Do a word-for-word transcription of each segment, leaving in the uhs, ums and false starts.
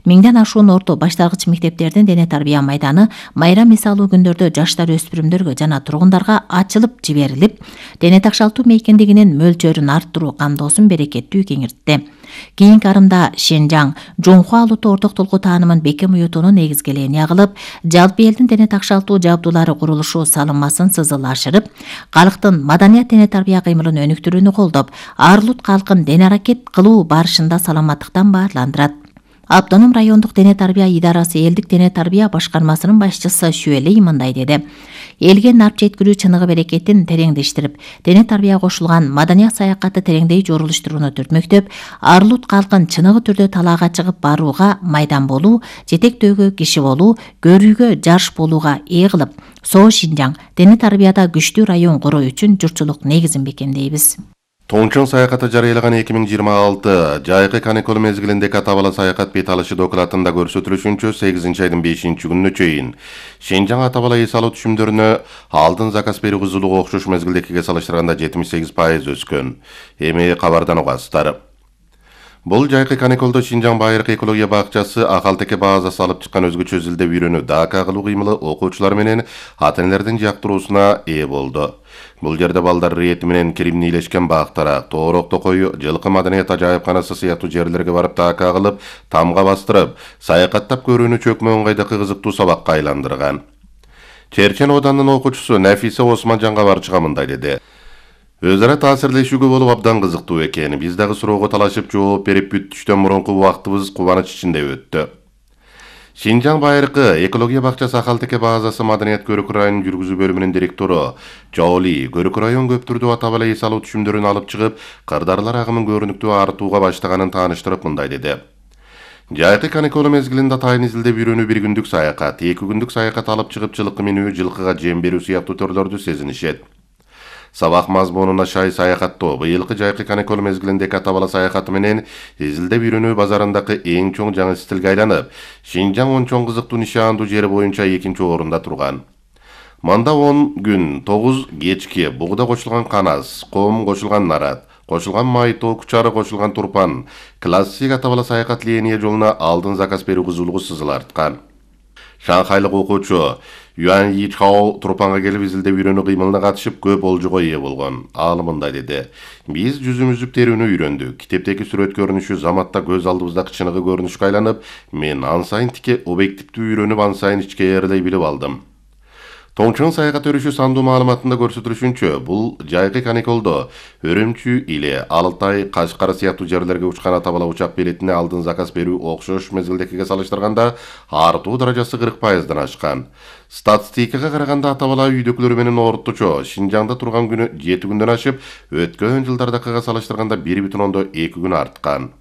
миңден ашуун орто башталгыч мектептердин дене тарбия майданы майрам эс алуу күндөрдө жаштар өспүрүмдөргө жана тургундарга ачылып жиберилип, дене такшалтуу мейкиндигинин мөлчөрүн арттыруу камдоосун берекеттүү кеңиртти. Кийинки арымда Шенжаң Жоңхуа Алууту Ордук Толку таанымын бекем уютуунун негизгелени агылып, жалпы элдин дене такшалтуу жабдуулары курулушу салынмасын сызылашырып, калктын маданият дене тарбия кыймылын өнүктүрүүнү колдоп, ар улут калкын дене аракет кылуу барышында саламаттыктан баарландырат. Автоном райондук дене тарбия идарасы элдик дене тарбия башкармасынын башчысы Шүэлей мындай деди. Элге нарп жеткирүү чыныгы берекетин тереңдештирип, дене тарбия кошулган маданият саякаты тереңдей жорулуштурууну түртмөктөп, ар улут калкын чыныгы түрдө талаага чыгып барууга, майдан болуу, жетектөөгө киши болуу, көрүүгө жарыш болууга ээ кылып, Соо Шинжаң дене тарбияда күчтүү район куруу үчүн журтчулук негизин бекемдейбиз. Тоңчон саякаты жарыялаган эки миң жыйырма алты жайкы каникул мезгилиндеги атабала саякат бет алышы докладында көрсөтүлүшүнчө сегизинчи айдын бешинчи күнүнө чейин Шенжаң атабала эс алуу түшүмдөрүнө алдын заказ берүү кызулугу окшош мезгилдекиге салыштырганда жетимиш сегиз пайыз өскөн. Эми кабардан угасыздар. Бул жайкы каникулда Шинжаң Байыркы экология бакчасы акалтеке баазасы алып чыккан өзгөчө изилдөө үйрөнүү дака кылуу кыймылы окуучулар менен ата-энелердин жактыруусуна ээ болду. Бул жерде балдар рети менен киримнийлешкен бактара, тоорок токой, жылкы маданият ажайыпканасы сыяктуу жерлерге барып дака кылып, тамга бастырып, саякаттап көрүүнү чөкмө ыңгайдагы кызыктуу сабакка айландырган. Черчен оданынын окуучусу Нафиса Османжанга барчыга мындай деди. Өз ара таасирлешүүгө болуп абдан кызыктуу экен. Биз дагы суроого талашып жооп берип бүттүштөн мурунку убактыбыз кубаныч ичинде өттү. Шинжаң Байыркы экология бакчасы акалтеке баазасы маданият көрүк районун жүргүзүү бөлүмүнүн директору Жоли көрүк район көп түрдүү атабала эс алуу түшүмдөрүн алып чыгып, кырдаарлар агымын көрүнүктүү артууга баштаганын тааныштырып мындай деди. Жайкы каникул мезгилинде атайын изилдеп үйрөнүү бир күндүк саякат, эки күндүк саякат алып чыгып жылкы минүү, жылкыга жем берүү сыяктуу төрлөрдү сезинишет. Сабак мазмунуна шай саякаттоо быйылкы жайкы каникул мезгилиндеги атабала саякаты менен изилдеп үйрөнүү базарындагы эң чоң жаңы стилге айланып, Шинжаң он чоң кызыктуу нишаандуу жери боюнча экинчи орунда турган. Манда он күн, тогуз кечки, бугда кошулган канас, ком кошулган нарат, кошулган майтоо, кучары кошулган турпан, классик атабала саякат линия жолуна алдын заказ берүү кызуулугу сызыларткан. Шанхайлык окуучу Юан Йичао турпанга келип изилдеп үйрөнүү кыймылына катышып көп олжого ээ болгон. Ал мындай деди. Биз жүзүм үзүп терүүнү үйрөндүк. Китептеги сүрөт көрүнүшү заматта көз алдыбыздагы чыныгы көрүнүшкө айланып, мен ан сайын тике объективдүү үйрөнүп ан сайын ичкеерлей билип алдым. Тоңчон саякат өрүшү сандуу маалыматында көрсөтүлүшүнчө, бул жайкы каникулдо Өрөмчү, Иле, Алтай, Кашкар сыяктуу жерлерге учкан атабала учак билетине алдын заказ берүү окшош мезгилдекиге салыштырганда артуу даражасы кырк пайыздан ашкан. Статистикага караганда атабала үйдөкүлөр менен орточо Шинжаңда турган күнү жети күндөн ашып, өткөн жылдардакыга салыштырганда бир бүтүн ондон эки күн арткан.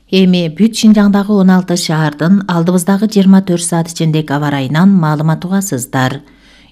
Эми бүт Шинжаңдагы он алты шаардын алдыбыздагы жыйырма төрт саат ичиндеги аба ырайынан маалымат угасыздар.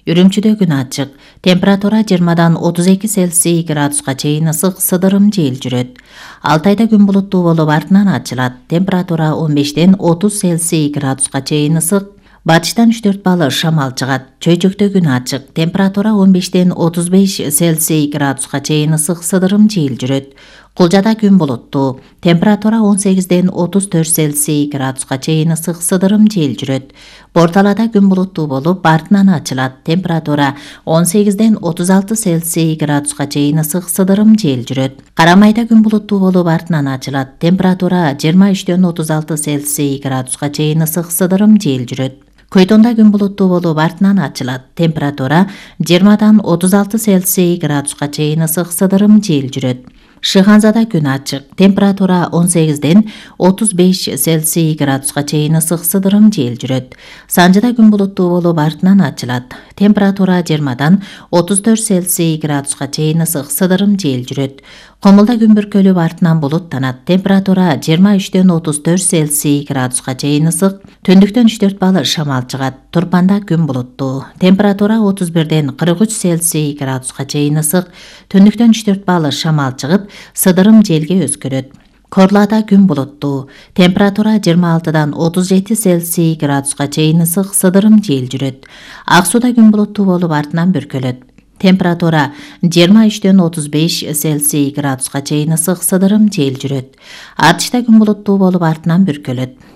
Үрүмчүдө күн ачык. Температура жыйырмадан отуз эки Цельсий градуска чейин ысык сыдырым жел жүрөт. Алтайда күн булуттуу болуп артынан ачылат. Температура он бештен отуз Цельсий градуска чейин ысык. Батыштан үч төрт балл шамал чыгат. Чөйчөктө күн ачык. Температура он бештен отуз беш Цельсий градуска чейин ысык сыдырым жел жүрөт. Кулжада күн булуттуу. Температура он сегизден отуз төрт Цельсий градуска чейин ысык сыдырым жел жүрөт. Борталада күн булуттуу болуп артынан ачылат. Температура он сегизден отуз алты Цельсий градуска чейин ысык сыдырым жел жүрөт. Карамайда күн булуттуу болуп артынан ачылат. Температура жыйырма үчтөн отуз алты Цельсий градуска чейин ысык сыдырым жел жүрөт. Көйтонда күн булуттуу болуп артынан ачылат. Температура жыйырмадан отуз алты Цельсий градуска чейин ысык сыдырым жел жүрөт. Шыханзада күн ачык. Температура он сегизден отуз беш Цельсий градуска чейин ысык сыдырым жел жүрөт. Санжыда күн булуттуу болуп артынан ачылат. Температура жыйырмадан отуз төрт Цельсий градуска чейин ысык сыдырым жел жүрөт. Комулда күн бүркөлүп артынан булуттанат. Температура жыйырма үчтөн отуз төрт Цельсий градуска чейин ысык. Түндүктөн үч төрт балл шамал чыгат. Турпанда күн булуттуу. Температура отуз бирден кырк үч Цельсий градуска чейин ысык. Түндүктөн үч төрт балл шамал чыгып, сыдырым желге өзгөрөт. Корлада күн булуттуу. Температура жыйырма алтыдан отуз жети Цельсий градуска чейин ысык сыдырым жел жүрөт. Ак сууда күн булуттуу болуп артынан бүркөлөт. Температура жыйырма үчтөн отуз беш Цельсий градуска чейин ысык сыдырым жел жүрөт. Артышта күн булуттуу болуп артынан бүркөлөт.